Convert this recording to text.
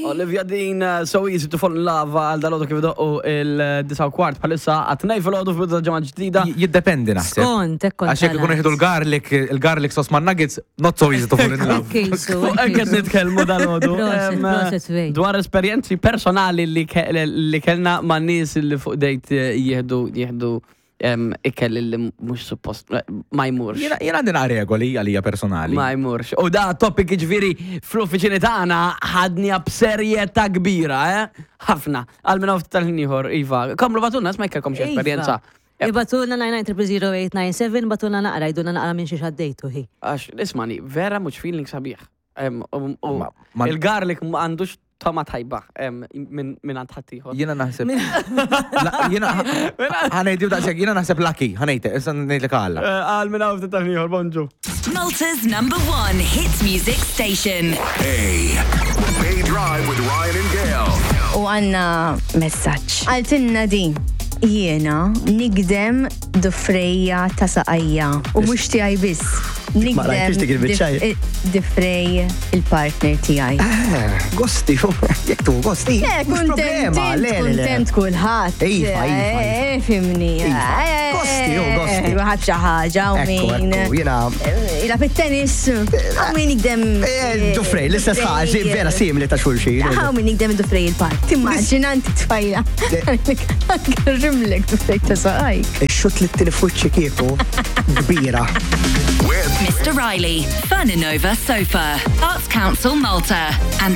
Olivia Dean, So Easy to Fall in Love għal dal-għodu kif doqqu il-9 kwart bħalissa għat-tnej fil-għodu fil-bidu ta' ġimgħa ġdida. Jiddependi naħseb. Skont, hekk kont Għax jekk ikunu jieħdu l-garlic, il-garlic sauce ma' nuggets, not so easy to fall in love. Fuq hekk qed nitkellmu dal-għodu. Proset, proset, Wayne. Dwar esperjenzi personali li ke- li kellna ma' nies li fuq dejt jieħdu jieħdu ikel li mhux suppost ma jmurx. Jiena jiena għandi naqra regoli għalija personali. Ma jmurx. U da topic ġifieri fl-uffiċini tagħna ħadniha b'serjetà kbira, eh? Ħafna. Għal minn hawn tal-ħin ieħor, iva. Komplu bagħtulna isma' jekk kellkom xi Iva. esperjenza. Ibagħtulna 99000897, bagħtulna naqra, għidulna naqra minn xiex għaddejtu hi. Għax ismani, vera mhux feeling sabiħ. Em, u- u- Ma- ma- Il-garlic ma għandux toma tajba em, minn minn għand ħaddieħor. Jiena naħseb. La- Jiena ħa ngħidu daqshekk, jiena naħseb lucky, ħa ngħid, issa ngħidlek għala. Eh, Għal minn hawn ftit tal-ieħor, bonġu. Malta's number one hit music station. A. Bay Drive with Ryan and Gail. U għanna messaġġ. Għaltinna din. Jiena nigdem dufrejja ta' saqajja u mhux tiegħi biss. Ma rajtix dik il-biċċa. Difrej il-partner tiegħi. Eh, Gosti, jekk tu gosti. Eh, mhux kontent, problema, le, le, le. kontent kulħadd. Iva, iva, iva. Eh, Fimni. Iva. Eh, Gosti, oh, gosti. Waħab xi ħaġa u Ekku, min. ekku, jiena Ila fit-tennis, u min jikdem. Eh, Dufrej, l-istess ħaġa, vera simili ta' xulxin. Għaw min jikdem dufrej il-part. Timmaġina inti tfajla. Rimlek dufrej ta' saqajk. Ix-xut li t-tini fuċċi kieku kbira. With Mr. Riley, Furninova Sofa, Arts Council Malta, and